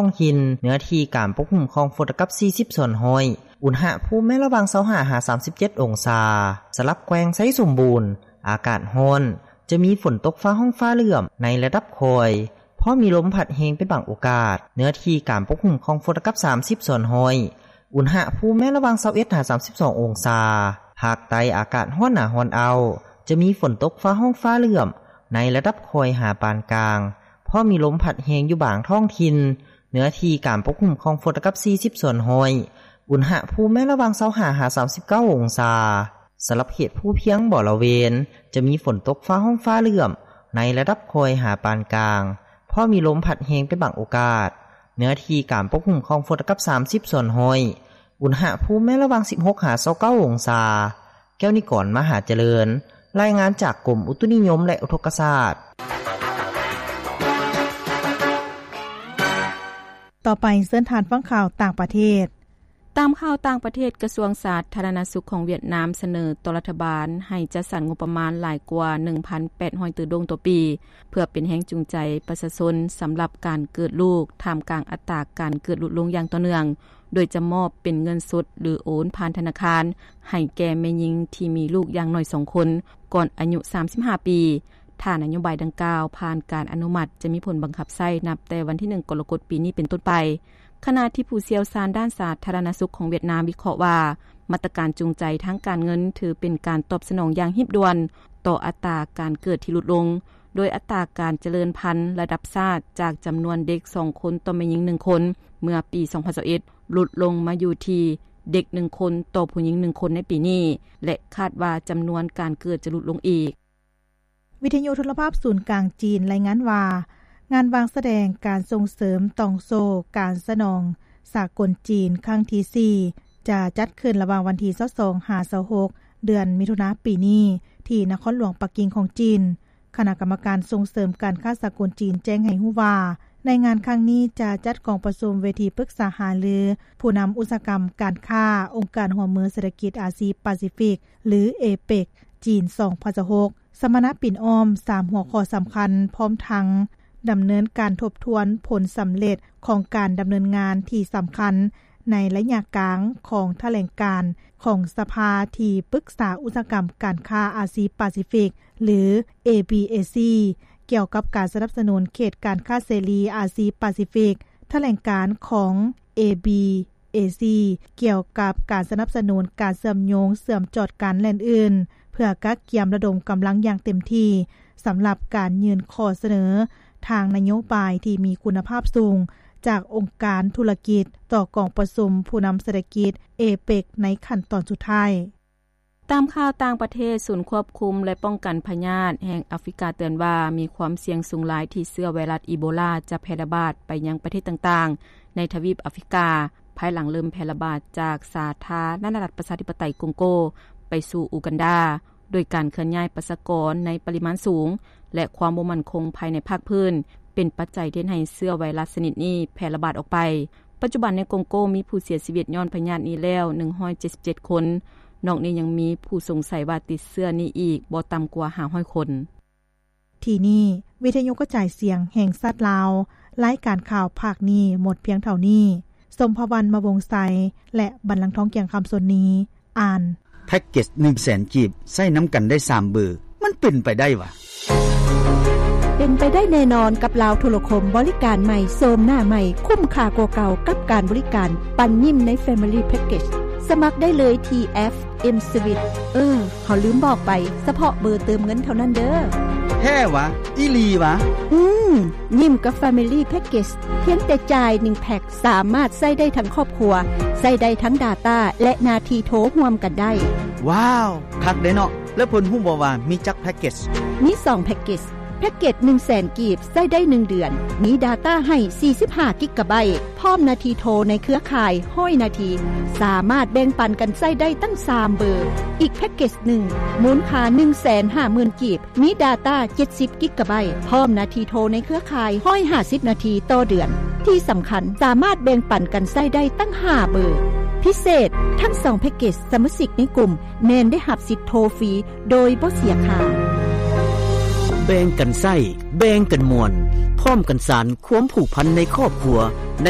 ທ້ອງຖິ່ນ ເນື້ອທີ່ການປົກຫຸ້ມຂອງໂຟຕະກັບສີ່ສິບສ່ວນຮ້ອຍ, ອຸນຫະພູມແມ່ນລະຫວ່າງຊາວຫ້າຫາສາມສິບເຈັດອົງສາ. ສຳລັບແຂວງໄຊສົມບູນ ອາກາດຮ້ອນ, ຈະມີຝົນຕົກຟ້າຮ້ອງຟ້າເຫຼື້ອມໃນລະດັບຄ່ອຍ, ພໍມີລົມພັດແຮງເປັນບາງໂອກາດ, ເນື້ອທີ່ການປົກຫຸ້ມຂອງໂຟຕະກັບສາມສິບສ່ວນຮ້ອຍ, ອຸນຫະພູມແມ່ນລະຫວ່າງຊາວເອັດຫາສາມສິບສອງອົງສາ. ພາກໃຕ້ອາກາດຮ້ອນໜາວຮ້ອນອ້າວ, ຈະມີຝົນຕົກຟ້າຮ້ອງຟ້າເຫຼື້ອມໃນລະດັບຄ່ອຍຫາປານກາງ, ພໍມີລົມພັດແຮງຢູ່ບາງທ້ອງຖິ່ນ, ເນື້ອທີ່ການປົກຫຸ້ມຂອງຝົນຕະກັບສີ່ສິບສ່ວນຮ້ອຍ, ອຸນຫະພູມແມ່ນລະຫວ່າງຊາວຫ້າຫາສາມສິບເກົ້າອົງສາ. ສຳລັບເຂດພູພຽງບໍລະເວນ ຈະມີຝົນຕົກຟ້າຮ້ອງຟ້າເຫຼື້ອມໃນລະດັບຄ່ອຍຫາປານກາງ, ພໍມີລົມພັດແຮງເປັນບາງໂອກາດ, ເນື້ອທີ່ການປົກຫຸ້ມຂອງຝົນຕະກັບສາມສິບສ່ວນຮ້ອຍ, ອຸນຫະພູມແມ່ນລະຫວ່າງສິບຫົກຫາຊາວເກົ້າອົງສາ. ແກ້ວນິກອນ ມະຫາຈະເລີນ, ລາຍງານຈາກກົມອຸຕຸນິຍົມ ແລະ ອຸທົກກະສາດ. ຕໍ່ໄປເຊີນທ່ານຟັງຂ່າວຕ່າງປະເທດ. ຕາມຂ່າວຕ່າງປະເທດ, ກະຊວງສາທາລະນະສຸກຂອງຫວຽດນາມສະເໜີຕໍ່ລັດຖະບານໃຫ້ຈັດສັນງົບປະມານຫຼາຍກວ່າໜຶ່ງພັນແປດຮ້ອຍຕື້ດົງຕໍ່ປີ ເພື່ອເປັນແຮງຈູງໃຈປະຊາຊົນສຳລັບການເກີດລູກ ທ່າມກາງອັດຕາການເກີດຫຼຸດລົງຢ່າງຕໍ່ເນື່ອງ, ໂດຍຈະມອບເປັນເງິນສົດ ຫຼື ໂອນຜ່ານທະນາຄານ ໃຫ້ແກ່ແມ່ຍິງທີ່ມີລູກຢ່າງໜ້ອຍສອງຄົນ ກ່ອນອາຍຸສາມສິບຫ້າປີ. ຖ້ານະໂຍບາຍດັ່ງກ່າວຜ່ານການອະນຸມັດ, ຈະມີຜົນບັງຄັບໃຊ້ນັບແຕ່ວັນທີໜຶ່ງ ກໍລະກົດປີນີ້ເປັນຕົ້ນໄປ. ຂະນະທີ່ຜູ້ຊ່ຽວຊານດ້ານສາທາລະນະສຸກຂອງຫວຽດນາມວິເຄາະວ່າ, ມາດຕະການຈູງໃຈທາງການເງິນຖືເປັນການຕອບສະໜອງຢ່າງຮີບດ່ວນຕໍ່ອັດຕາການເກີດທີ່ຫຼຸດລົງ, ໂດຍອັດຕາການຈະເລີນພັນລະດັບຊາດຈາກຈຳນວນເດັກສອງຄົນຕໍ່ແມ່ຍິງໜຶ່ງຄົນ ເມື່ອປີສອງພັນຊາວເອັດ ຫຼຸດລົງມາຢູ່ທີ່ເດັກໜຶ່ງຄົນຕໍ່ຜູ້ຍິງໜຶ່ງຄົນໃນປີນີ້ ແລະ ຄາດວ່າຈຳນວນການເກີດຈະຫຼຸດລົງອີກ. ວິທະຍຸໂທລະພາບສູນກາງຈີນລາຍງານວ່າ, ງານວາງສະແດງການສົ່ງເສີມຕ່ອງໂສ້ການສະໜອງສາກົນຈີນຄັ້ງທີສີ່ ຈະຈັດຂຶ້ນລະຫວ່າງວັນທີຊາວສອງຫາຊາວຫົກ ເດືອນມິຖຸນາປີນີ້ ທີ່ນະຄອນຫຼວງປັກກິ່ງຂອງຈີນ. ຄະນະກຳມະການສົ່ງເສີມການຄ້າສາກົນຈີນແຈ້ງໃຫ້ຮູ້ວ່າ, ໃນງານຄັ້ງນີ້ຈະຈັດກອງປະຊຸມເວທີປຶກສາຫາລືຜູ້ນຳອຸດສາຫະກຳການຄ້າ ອົງການຮ່ວມມືເສດຖະກິດອາຊີປາຊີຟິກ ຫຼື ເອເປັກ ຈີນ ສອງພັນຊາວຫົກ ສຳມະນາປິ່ນອ້ອມສາມຫົວຂໍ້ສຳຄັນ, ພ້ອມທັງດຳເນີນການທົບທວນຜົນສຳເລັດຂອງການດຳເນີນງານທີ່ສຳຄັນໃນໄລຍະກາງຂອງຖະແຫຼງການຂອງສະພາທີ່ປຶກສາອຸດສາຫະກຳການຄ້າອາຊີປາຊີຟິກ ຫຼື ເອບີເອຊີ ກ່ຽວກັບການສະໜັບສະໜູນເຂດການຄ້າເສລີອາຊີປາຊີຟິກ, ຖະແຫຼງການຂອງ ເອບີເອຊີ ກ່ຽວກັບການສະໜັບສະໜູນການເຊື່ອມໂຍງເຊື່ອມຈອດກັນ ແລະ ອື່ນໆ ເພື່ອກະກຽມລະດົມກຳລັງຢ່າງເຕັມທີ່ ສຳລັບການຍື່ນຂໍ້ສະເໜີທາງນະໂຍບາຍທີ່ມີຄຸນນະພາບສູງ ຈາກອົງການທຸລະກິດຕໍ່ກອງປະຊຸມຜູ້ນຳເສດຖະກິດເອເປັກ ໃນຂັ້ນຕອນສຸດທ້າຍ. ຕາມຂ່າວຕ່າງປະເທດ, ສູນຄວບຄຸມ ແລະ ປ້ອງກັນພະຍາດແຫ່ງອາຟຣິກາເຕືອນວ່າ ມີຄວາມສ່ຽງສູງຫຼາຍທີ່ເຊື້ອໄວຣັສອີໂບລາຈະແຜ່ລະບາດໄປຍັງປະເທດຕ່າງໆໃນທະວີບອາຟຣິກາ, ພາຍຫຼັງເລີ່ມແຜ່ລະບາດຈາກສາທາລະນະລັດປະຊາທິປະໄຕກົງໂກໄປສູ່ອູກັນດາ, ໂດຍການເຄື່ອນຍ້າຍປະຊາກອນໃນປະລິມານສູງ ແລະ ຄວາມບໍ່ໝັ້ນຄົງພາຍໃນພາກພື້ນ ເປັນປັດໄຈທີ່ເຮັດໃຫ້ເຊື້ອໄວຣັສຊະນິດນີ້ແຜ່ລະບາດອອກໄປ. ປັດຈຸບັນໃນກົງໂກມີຜູ້ເສຍຊີວິດຍ້ອນພະຍາດນີ້ແລ້ວໜຶ່ງຮ້ອຍເຈັດສິບເຈັດຄົນ, ນອກນີ້ຍັງມີຜູ້ສົງໄສວ່າຕິດເຊື້ອນີ້ອີກບໍ່ຕ່ຳກວ່າຫ້າຮ້ອຍຄົນ. ທີ່ນີ້ ວິທະຍຸກະຈາຍສຽງແຫ່ງຊາດລາວ, ລາຍການຂ່າວພາກນີ້ໝົດພຽງເທົ່ານີ້. ສົມພະວັນ ມະວົງໄຊ ແລະ ບັນລັງທອງ ກຽງຄຳ ສົນນີ ອ່ານ. ແພັກເກັດໜຶ່ງແສນກີບ ໃຊ້ນຳກັນໄດ້ສາມເບີ ມັນເປັນໄປໄດ້ຫວາ? ເປັນໄປໄດ້ແນ່ນອນກັບລາວໂທລະຄົມ, ບໍລິການໃໝ່, ໂສມໜ້າໃໝ່, ຄຸ້ມຄ່າກວ່າເກົ່າກັບການບໍລິການ, ປັນຍິ້ມໃນ Family Package. ສະໝັກໄດ້ເລີຍທີ່ແອັບ M-Sweet. ເອີ, ເຮົາລືມບອກໄປ, ສະເພາະເບີເຕີມເງິນເທົ່ານັ້ນເດີ້. ແທ້ຫວາ? ອີ່ຫຼີຫວາ? ອືມ, ຍິ້ມກັບ Family Package ພຽງແຕ່ຈ່າຍໜຶ່ງແພັກ ສາມາດໃຊ້ໄດ້ທັງຄອບຄົວ, ໃຊ້ໄດ້ທັງດາຕ້າ ແລະ ໜ້າທີ່ໂທຮ່ວມກັນໄດ້. ວ້າວ, ຄັກເດ້ເນາະ. ແລ້ວເພິ່ນຮູ້ບໍ່ວ່າມີຈັກແພັກເກັດ? ມີສອງແພັກເກັດ. ແພັກເກັດໜຶ່ງແສນກີບ ໃຊ້ໄດ້ໜຶ່ງເດືອນ, ມີດາຕ້າໃຫ້ສີ່ສິບຫ້າກິກກະໄບ, ພ້ອມໜ້າທີ່ໂທໃນເຄືອຂ່າຍຮ້ອຍນາທີ, ສາມາດແບ່ງປັນກັນໃຊ້ໄດ້ຕັ້ງສາມເບີ. ອີກແພັກເກັດໜຶ່ງ ມູນຄ່າໜຶ່ງແສນຫ້າໝື່ນກີບ, ມີດາຕ້າເຈັດສິບກິກກະໄບ, ພ້ອມໜ້າທີ່ໂທໃນເຄືອຂ່າຍຮ້ອຍຫ້າສິບນາທີຕໍ່ເດືອນ. ທີ່ສຳຄັນ, ສາມາດແບ່ງປັນກັນໃຊ້ໄດ້ຕັ້ງຫ້າເບີ. ພິເສດ, ທັງສອງແພັກເກັດສະມາຊິກໃນກຸ່ມແມ່ນໄດ້ຮັບສິດໂທຟຣີໂດຍບໍ່ເສຍຄ່າ. ແບ່ງກັນໃຊ້ ແບ່ງກັນມ່ວນ ພ້ອມກັນສານຄວາມຜູກພັນໃນຄອບຄົວ ໃນ